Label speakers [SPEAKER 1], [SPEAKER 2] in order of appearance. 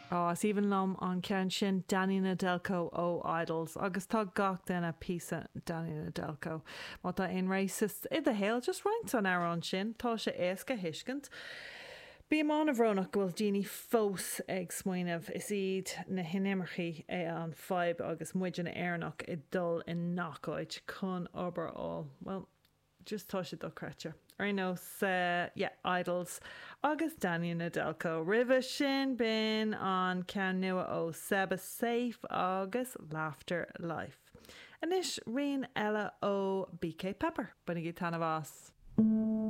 [SPEAKER 1] Á, is aoibhinn liom an ceann sin, Danny Nedelko ó Idles, agus tá gach duine píosa Danny Nedelko. Má tá aon racist i do shaol, just roinnt an amhrán sin, tá sé éasca a thuiscint. Bím an-bhrónach go bhfuil daoine fós ag smaoineamh is iad na hinimircigh é an fadhb agus muidne Éireannach ag dul i ngach áit chun obair a fháil. Bhuel, just tá sé dochreidte. Ar aon nós, yeah, Idles agus Danny Nedelko. Roimhe sin, b'in an ceann nua ó Seba Safe agus Laughter Life. Anois, rian eile ó BK Pepper. Bainigí taitneamh as!